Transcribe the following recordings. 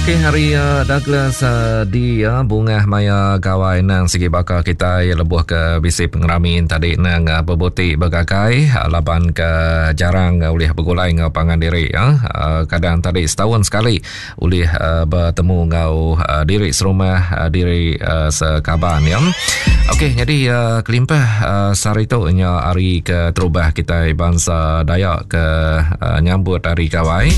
Okey hari uh, Douglas uh, di uh, bungah maya gawai nang sigi baka kita lebuh ke bisi pengerami tadi nang uh, bebuti begagai uh, laban ke jarang uh, ulih begulai enggau pangan diri uh, uh, kadang tadi setahun sekali ulih uh, betemu enggau uh, diri serumah uh, diri uh, sekaban ya. Okey jadi uh, kelimpah uh, sehari tu nya hari ke terubah kita bangsa Dayak ke uh, nyambut hari gawai.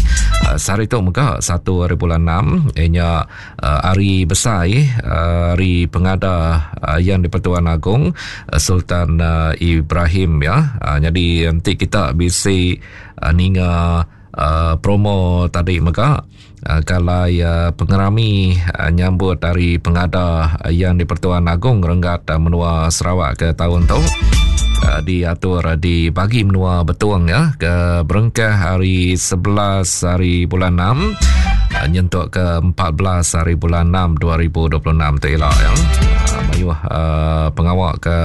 Uh, sehari tu mega 1 hari bulan 6 ianya uh, hari besar uh, hari pengada uh, yang di-Pertuan Agong uh, Sultan uh, Ibrahim ya. Uh, jadi nanti kita bisi uh, ninga Uh, promo tadi mega uh, kalai uh, pengerami uh, nyambut hari pengada uh, yang di-Pertuan Agong renggat uh, menua Sarawak ke tahun tu uh, diatur uh, di bagi menua Betong ya ke berengkah hari 11 hari bulan 6 uh, nyentuk ke 14 hari bulan 6 2026 tu ila ya. Uh, mayuh uh, pengawak ke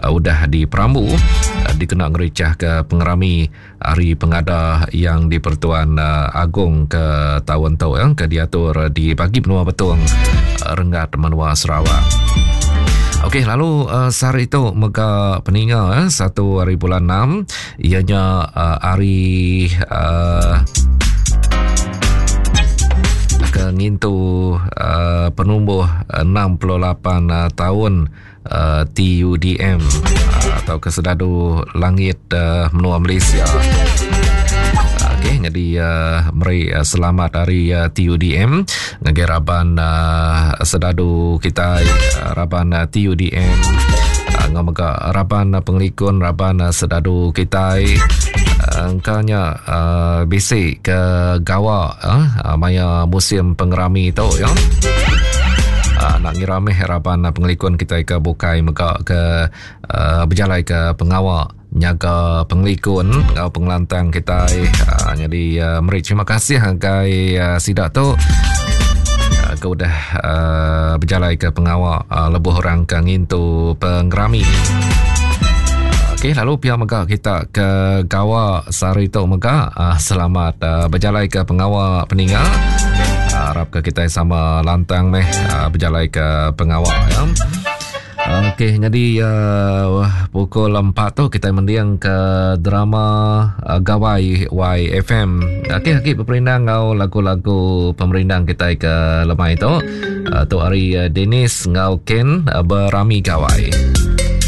uh, udah di Perambu uh, dikena ngericah ke pengerami Hari Pengada yang di Pertuan uh, Agong ke tahun tu yang ke diatur di bagi menua Betong uh, renggat menua Sarawak. Okey, lalu uh, sehari itu mega peninga eh, satu hari bulan 6 ianya uh, hari uh, ke ngintu uh, penumbuh 68 uh, tahun uh, TUDM uh, atau Kesedadu Langit uh, Menua Malaysia. Okey, jadi uh, meri uh, selamat hari uh, TUDM ngagai raban uh, sedadu kita uh, raban uh, TUDM uh, ngau mega raban uh, pengelikun raban uh, sedadu kita uh, engkanya uh, bisi ke gawa uh, maya musim pengerami tu ya. Uh, nak ngira meh raban pengelikun kita ke bukai mega ke uh, berjalai ke pengawa nyaga pengelikun enggau pengelantang kita uh, jadi uh, meri terima kasih ngagai uh, sida tu uh, ke udah uh, berjalai ke pengawa uh, lebuh orang ke ngintu pengerami. Okey, lalu pia mega kita ke gawa sehari tu mega uh, selamat uh, berjalai ke pengawa peninga. Uh, harap ke kita sama lantang meh uh, berjalai ke pengawa ya. Okey, jadi uh, pukul 4 tu kita mending ke drama uh, Gawai YFM. Okey, lagi beperindang ngau lagu-lagu pemerindang kita ke lemai tu. Uh, tu hari uh, Dennis ngau Ken uh, berami Gawai.